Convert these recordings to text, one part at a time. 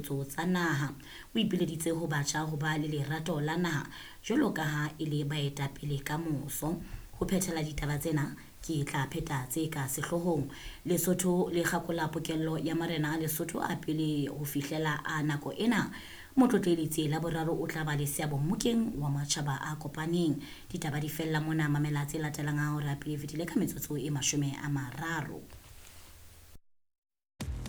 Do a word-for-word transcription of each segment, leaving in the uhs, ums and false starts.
Tsa naha. O ipileditse ho batjha ho ba le lerato la naha jwalo ka ha e le baetapele ka moso. Ho phethela ditaba tsena ke tla pheta tse ka sehloohong. Lesotho le kgakola pokello ya marena a Lesotho a pele ho fihlela a nako ena. Motlotlehi Letsie la boraro o tla ba le seabo mmokeng wa matjhaba a kopaneng. Ditaba di fella mona, mamela tse latelang ha hora pele e fetile ka metsotso e mashome a mararo.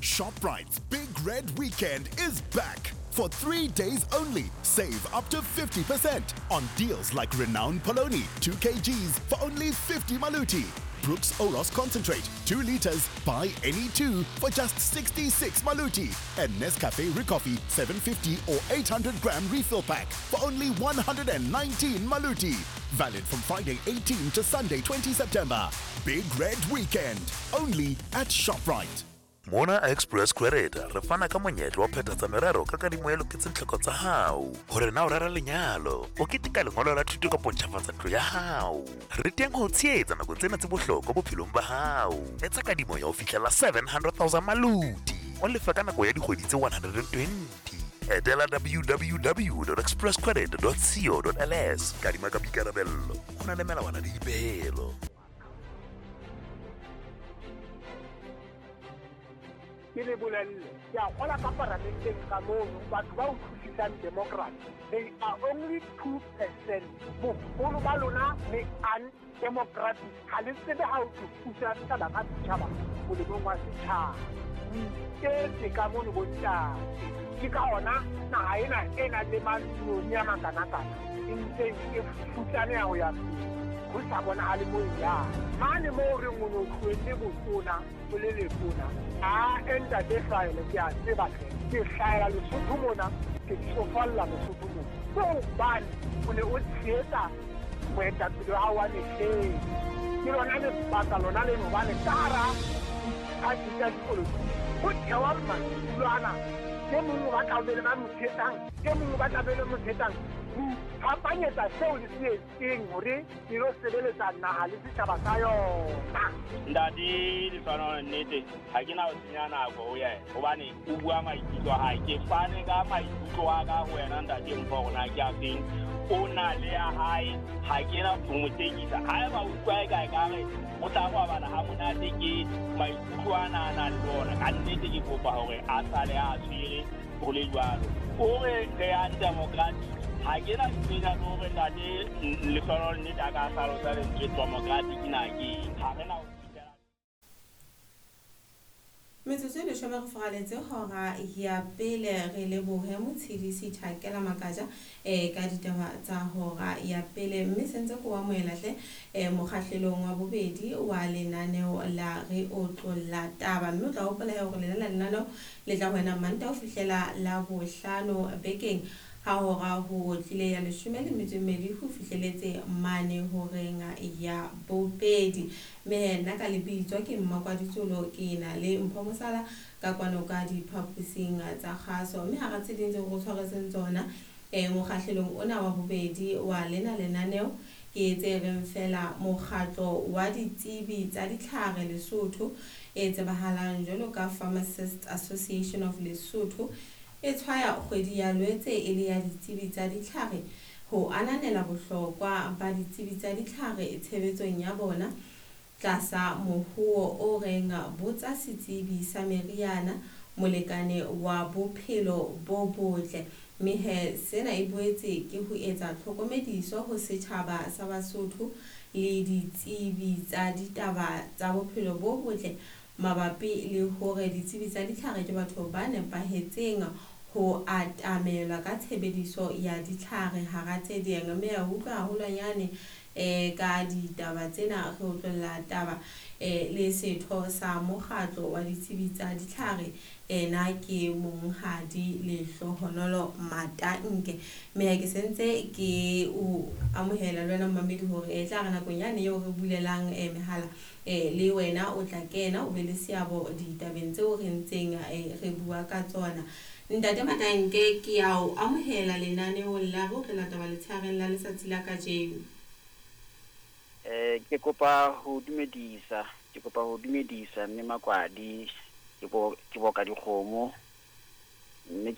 ShopRite's Big Red Weekend is back. For three days only, save up to fifty percent on deals like Renown Polony, two kilograms for only fifty maluti. Brooks Oros Concentrate, two liters, buy any two for just sixty-six maluti. And Nescafe Ricoffy, seven fifty or eight hundred gram refill pack for only one hundred nineteen maluti. Valid from Friday eighteen to Sunday twenty September. Big Red Weekend, only at ShopRite. Mona Express Credit re fana ka monyetla wa phethatsa merero ka kadimo e loketseng tlhoko tsa hao, hore na o rera lenyalo, o keteka lengolo la thuto kapo ntjhafatsa ntlo ya hao. Re teng ho o tshehetsa nakong tsena tse bohlokwa bophelong ba hao. Etsa kadimo ya ho fihlela seven hundred thousand maluti, o lefe ka nako ya dikgwedi tse one hundred twenty. Etela W W W dot expresscredit dot co dot L S. Kadima ka boikarabello, ho na le melawana le dipehelo. Ke le bolelle, ke a kgola ka paramenteng ka mono batho ba utlwisisang democracy, they are only two percent. Boholo ba lona le undemocratic, ha le tsebe ha o thusa setjhaba ka setjhaba molemong wa setjhaba. O iketse ka mono bontate, ke ka ona naha ena e nang le matloni a makanakana e ntseng e futsaneha ho ya pele, ho sa bonahale mo e yang mane moo reng o ne o tlohelle botona o le letona. A ntate hlahele, ke a tseba hle, ke hlahela Lesotho mona, ke tsofalla Lesotho mona, ke hobane o ne o tshehetsa moetapele wa hao wa mehleng. Ke lona lebaka lona leno, hobane ka hara diphathi tsa dipolotiki ho thewa madulo ana, e mong o batla ho be le ba mo tshehetsang, e mong o batla be le mo tshehetsang. Ho iphapanyetsa seo le se etseng hore ke lo sebeletsa naha le setjhaba sa yona. Ntate Lehlohonolo, nnete ha ke na ho senya nako ho yena hobane o bua maikutlo a hae. Ke fane ka maikutlo a ka ho wena, ntate Mpho, hore na ke a feng. O na le ya hae, ha ke na ho mo tekisa. Haeba o utlwa eka ekare o tla robala ha monate ke maikutlo ana a nang le ona, ka nnete ke kopa hore a sale a tshwere ho le jwalo. O re re undemocratic, ha ke na ntho le hore ntate Lehlohonolo nnete a ka hlalosa lentswe democratic na ke eng. Ha re na ho fihlela. Metsotso e leshome re fogaletse hora ya pele. Re lebohe Motshedisi Thakela Makaja um ka ditaba tsa hora ya pele, mme sentse ko amohela hle um mokgahlelong wa bobedi wa lenaneo la Re Otlolla Taba. Mme o tla hopola he hore lena la lenaneo le tla ho wena Manta ho fihlela la bohlano bekeng, ha hora ho tlile ya leshome le metso e mmedi ho fihleletse mane horeng ya bobedi. Mme nna ka lebitso ke Mmakwaditsolo, ke na le Mpho Mosala ka kwano ka diphaposing tsa kgaso. Mme hara tse ding tseo re tshwaretseng tsona um mokgahlelong ona wa bobedi wa lena lenaneo ke tse reng fela mokgatlo wa ditsebi tsa ditlhare Lesotho, e tsebahalang jwalo ka Pharmacist Association of Lesotho, e tshwaya kgwedi ya Lwetse e le ya ditsebi tsa ditlhare ho ananela bohlokwa ba ditsebi tsa ditlhare tshebetsong ya bona, tlasa mohuo o reng "Botsa setsebi sa meriana, molekane wa bophelo bo botle". Mme he sena e boetse ke ho etsa tlhokomediso ho setjhaba sa Basotho le ditsebi tsa ditaba tsa bophelo bo botle mabapi le hore ditsebi tsa ditlhare ke batho ba nepahetseng ho atamelwa ka tshebediso ya ditlhare, hara tse ding. Mme ya utlwa haholwanyane um ka ditaba tsena, re otlolla taba um le setho sa mokgatlo wa ditsebi tsa ditlhare, ena ke Monghadi Lehlohonolo Matanke. Mme ha ke sentse ke o amohela le wena momamedi hore e tla re nakong yane eo re bulelang um mehala um le wena o tla kena o be le seabo ditabeng tseo re ntseng eh, re bua ka tsona. Ntate Matanke, ke a o amohela lenaneong la Re Otlolla Taba letshehareng la letsatsi la kajeno. Eh ke kopa ho dumedisa, ke kopa ho dumedisa mme Makwadi, ke bo ke boka dikgomo mme ke